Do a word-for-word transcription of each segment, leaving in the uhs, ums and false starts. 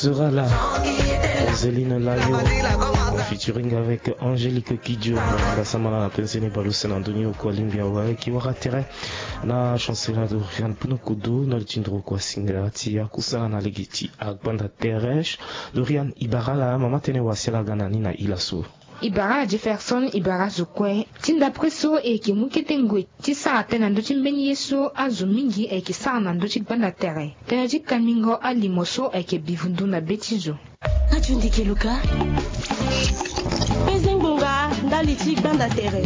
Sera la Zeline Layo featuring avec Angélique Kidjo. Mbasambala na penze ni baleuse na ndoni oko alingbi awe ki wara tere na chancela Dorian Punukudu na li ti nduru oko asinga ti akusala na lege ti agbanda tere. Dorian, i bara ala, mama tënë wasi ala ga na ni na ila so. I bara ala Jefferson, i bara azo kue. Ti ndapre so e yeke mu kete ngoi ti sara tënë na ndö ti mbeni ye so azo mingi ayeke sara na ndö ti gbanda tere. Tënë ti kambingo alimo so ayeke bivundu na be ti zo. Radio Ndeke Luka. Penze ngbonga ndali ti gbanda tere.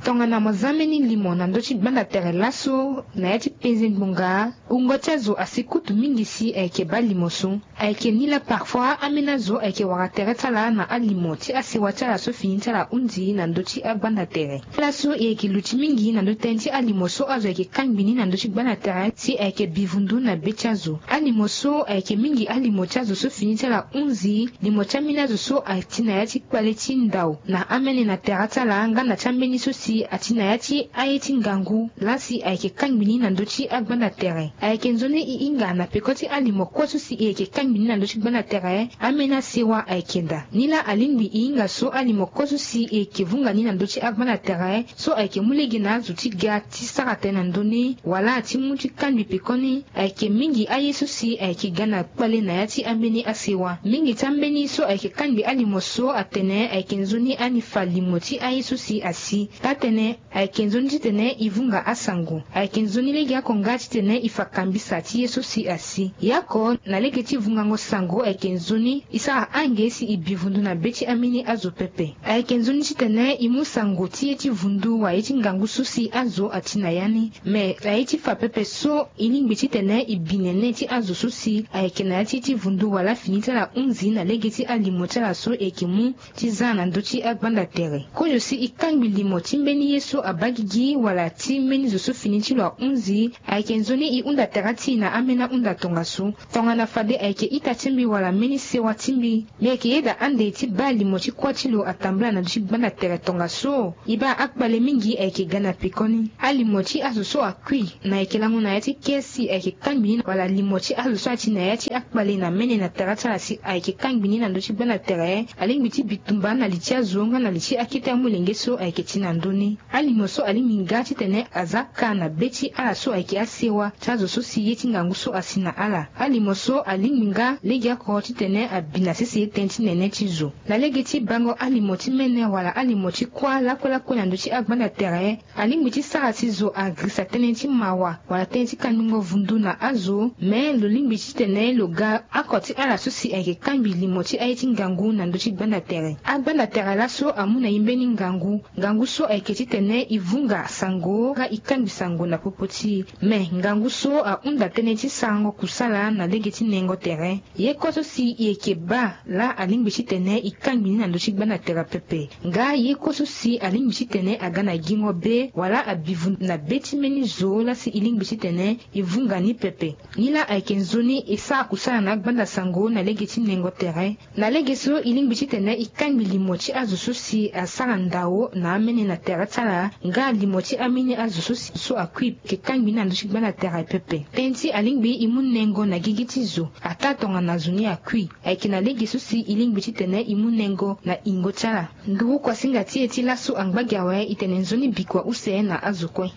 Tongana mo za mbeni limo na ndö ti gbanda tere laso na ya ti penze ngbonga, wungo ti azo asi kutu mingi si ayeke baa limo so. Ayeke ni laa parfois ambeni azo ayeke wara tere ti ala na alimo ti asewa ti ala so fini ti ala hunzi na ndö ti agbanda tere. Laso e yeke luti mingi na ndö tënë ti alimo so azo ayeke kangbi ni na ndö ti gbanda tere si ayeke bivundu na be ti azo. Alimo so ayeke mingi alimo ti azo so fini ti ala hunzi, limo ti ambeni azo so ati na ya ti kpale ti ndao na amene na tere ti ala nga na ti ambeni so si ati na ya ti aye ti ngangu laa si ayeke kangbi ni na ndö ti agbanda tere. Ayeke nzoni e hinga na peko ti alimo kue so si e yeke kangbi ni na ndö ti gbanda tere, ambeni asewa ayeke daa. Ni laa alingbi e hinga so alimo kue so si e yeke vunga ni na ndö ti agbanda tere so ayeke mu lege na azo ti ga ti sara tënë na ndö ni wala ti mu ti kangbi pekoni. Ayeke mingi aye so si ayeke ga na kpale na ya ti ambeni asewa. Mingi ti ambeni so ayeke kangbi alimo so atene ayeke nzoni ani fa limo ti aye so si asi. Taa-tënë, ayeke nzoni titene e vunga asango. Ayeke nzoni legeoko nga titene e fa kambisa ti ye so si asi. Ya oko, na lege ti vungango sango ayeke nzoni e sara ange si e bi vundu na be ti ambeni azo pepe. Ayeke nzoni titene e mu sango ti ye ti vundu wala ye ti ngangu so si azo ati na ya ni. Me na ye ti fa pepe so e lingbi titene e bi nene ti azo so si ayeke na ya ti ye ti vundu wala fini ti ala hunzi na lege ti alimo ti ala so e yeke mu ti za na ndö ti agbanda tere. Kozo si e kangbi limo ti mbeni ye so abaa gigi wala ti mbeni zo so fini ti lo ahunzi, ayeke nzoni e hunda tere ti e na ambeni ahunda tongaso. Tongana fade ayeke ita ti mbi wala mbeni sewa ti mbi, mbi yeke yeda ande ti baa limo ti kuâ ti lo atambula na ndö ti gbanda tere tongaso. E baa akpale mingi ayeke ga na pekoni. Alimo ti azo so akui na yeke lango na ya ti ke si ayeke kangbi ni wala limo ti azo so ati na ya ti akpale na mene na tere ti ala si ayeke kangbi ni na ndö ti gbanda tere, alingbi ti bi tumba na li ti azo nga na li ti akete amolenge so ayeke ti na ndö ni. Alimo so alingbi nga titene aza ka na be ti ala so ayeke asewa ti azo so si ye ti ngangu so asi na ala. Alimo so alingbi nga legeoko titene abi na sese tënë ti nene ti zo. Na lege ti bango alimo ti mene wala alimo ti kuâ lakue lakue na ndö ti agbanda tere, alingbi ti sara si zo agirisa tënë ti mawa wala tënë ti kandingo vundu na azo. Me lo lingbi titene lo ga oko ti ala so si ayeke kangbi limo ti aye ti ngangu na ndö ti gbanda tere. Agbanda tere laso amu na e mbeni ngangu. Ngangu so ayeke titene e vunga sango nga e kangbi sango na popo ti e. Me ngangu so ahunda tënë ti sarango kusala na lege ti nengo tere. Ye kue so si e yeke baa laa alingbi titene e kangbi ni na ndö ti gbanda tere pepe. Nga ye kue so si alingbi titene aga na gingo be wala abi vundu na be ti mbeni zo laa si e lingbi titene e vunga ni pepe. Ni laa ayeke nzoni e sara kusala na agbanda sango na lege ti nengo tere. Na lege so e lingbi titene e kangbi limo ti azo so si asara ndao na amene na tere ti ala nga limo ti ambeni azo so si so akui e yeke kangbi ni na ndö ti gbanda tere pepe. Tënë ti alingbi e mu nengo na gigi ti zo ataa tongana zo ni akui. Ayeke na lege so si e lingbi titene e mu nengo na yingo ti ala. Nduru kuasinga ti e ti laso angba gi awe e tene nzoni bikua use na azo kue.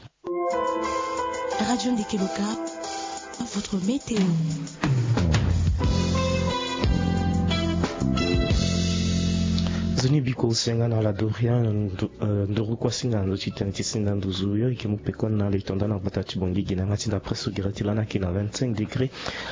Radio Ndeke Loka, votre météo. Nzoni bikua use nga na ala Dorian. Nduru kuasinga na ndö ti tene ti sinda nduzu yo e yeke mu pekoni na ala e tonda na gbata ti Bangui gi na yanga ti ndapre so gere ti lani ayeke na vingt-cinq degré.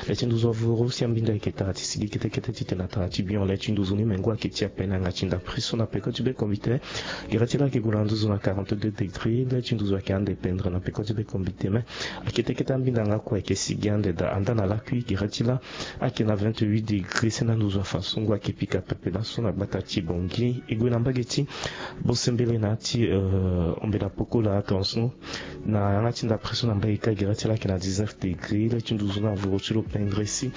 Le ti nduzu avuru si ambinda ayeke tara ti sigi kete kete titene atara ti bion. Le ti nduzu ni mengo ayeke ti ape na yanga ti ndapre so na peko ti be kombite. Gere ti lani ayeke gue na nduzu na quarante-deux degré. Le ti nduzu ayeke ande pendre na peko ti be kombite me akete kete ambinda nga kue ayeke sigi ande daa. Anda na lakui gere ti lani ayeke na vingt-huit degré si na nduzu afa so ngu ayeke pika pepe laso na gbata ti Bangui. E gue na mbage ti Bosembele na ya ti ombe na pokola atongaso. Na yanga ti ndapre so na mbage ka gere ti lani ayeke na dix-neuf degré. Le ti nduzu na avuru ti lo pendre si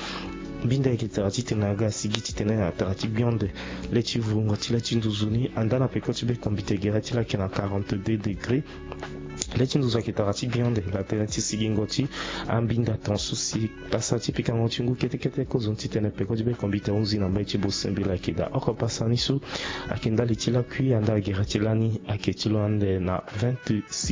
Mbinda ayeke tara titene aga asigi titene atara ti gbionde. Le ti vungo ti le ti nduzu ni anda na peko ti be kombite gere ti la ayeke na quarante-deux degré. Le ti nduzu ayeke tara ti gbionde na tënë ti sigingo ti ambinda ton so si pasa ti pikango ti ngu kete kete kozoni titene peko ti be kombite ahunzi na mbage ti bosembela ayeke daa oko pasa ni so ayeke ndali ti lakui anda gere ti lani ayeke ti lo ande na vingt-six.